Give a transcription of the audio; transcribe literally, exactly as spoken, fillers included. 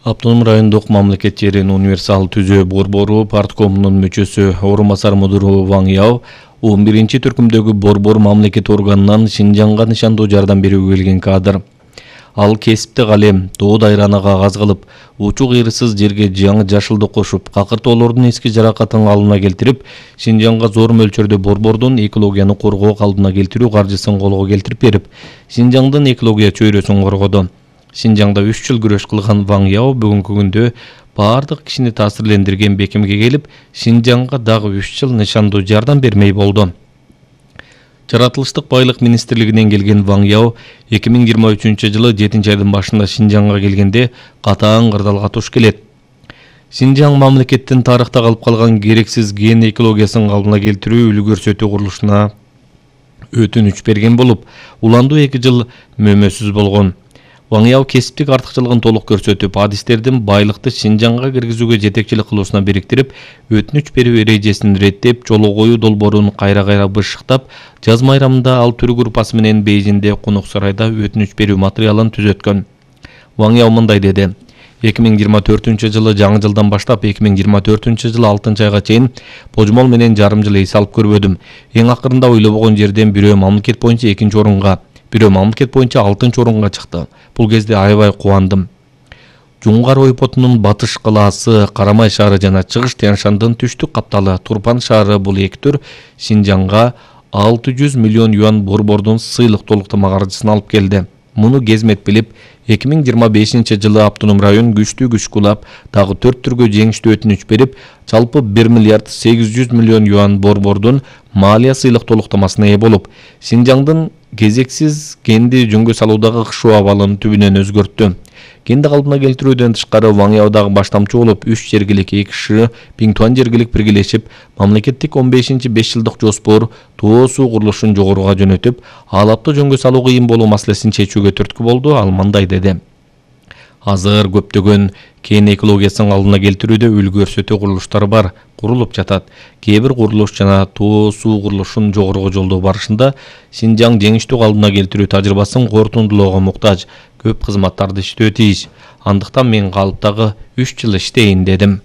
Автоном райондук мамлекет жерин универсал түзөө борбору парткомунун мүчөсү орун басар мудуру Ваң Яо он биринчи түркүмдөгү борбор мамлекет органынан Шинжаңга нышандуу жардам берүүгө келген кадр. Ал кесипти калем, доо дайраны кагаз кылып, учук ыйрысыз жерге жаңы жашылды кошуп, какыртоолордун эски жаракатын калыбына келтирип, Шинжаңга зор мөлчөрдө борбордун экологияны коргоо калыбына келтирүү каржысын колго келтирип берип, Шинжаңдын экология чөйрөсүн коргоду. Шинжаңда үч жыл күрөш кылган Ваң Яо бүгүнкү күндө бардык кишини таасирлендирген бекемге келип, Шинжаңга дагы үч жыл нышандуу жардам бермей болду. Жаратылыштык байлык министрлигинен келген Ваң Яо эки миң жыйырма үчүнчү жылы жетинчи айдын башында Шинжаңга келгенде катаң кырдаалга туш келет. Шинжаң мамлекеттин тарыхта калып калган керексиз ген экологиясын калыбына келтирүү үлгү көрсөтүү курулушуна өтүнүч берген болуп, уландуу эки жыл мөмөсүз болгон. Ваң Яо кесиптик артыкчылыгын толук көрсөтүп, адистердин байлыкты Шинжаңга киргизүүгө жетекчилик кылуусуна бириктирип, өтүнүч берүү эрежесин реттеп, жолго коюу долбоорун кайра-кайра бышыктап, жаз майрамында ал түрү группасы менен Бейжиңде Конок сарайда өтүнүч берүү материалын түзөткөн. Ваң Яо мындай деди: эки миң жыйырма төртүнчү жылы жаңы жылдан баштап эки миң жыйырма төртүнчү жылы алтынчы айга чейин божмол менен жарым жыл эс алып көрбөдүм. Эң акырында ойлобогон жерден бирөө мамлекет боюнча экинчи орунга, бирөө мамлекет боюнча алтынчы орунга чыкты. Бул кезде аябай кубандым. Жуңгар ойпотунун батыш калаасы, Карамай шаары жана Чыгыш Тянь-Шандын түштүк капталы Турпан шаары бул эки төр Шинжаңга алты жүз миллион юан борбордун сыйлык толуктама каржысын алып келди. Муну Кезмет билип, эки миң жыйырма бешинчи жылы автоном район күчтүү күч кулап, дагы төрт түргө жеңиштүү өтүнүч берип, жалпы бир миллиард сегиз жүз миллион юан борбордун малия сыйлык толуктамасына ээ болуп, Шинжаңдын кезексиз генди жөнгө салуудагы кышуу абалын түбүнөн өзгөрттү. Генди калыбына келтирүүдөн тышкары Ваң Яо дагы баштамчы болуп, үч жергилик эки ШИ, Биңтуан жергилик биргелешип, мамлекеттик он бешинчи беш жылдык жоспор тоо суу курулушун жогоруга жөнөтүп, аалапты жөнгө салуу кыйын болуу маселесин чечүүгө түрткү болду. Ал мындай деди: азыр көптөгөн кен экологиясын алдына келтирүүдө үлгү көрсөтүү курулуштары бар, курулуп жатат. Кээ бир курулуш жана тоо суу курулушун жогоруга жолдоо барышында Шинжаң жеңиштүү калыбына келтирүү тажрыйбасын кортундулоого муктаж, көп кызматтарды иштөө тийиш. Андыктан мен калыптагы үч жыл иштейин дедим.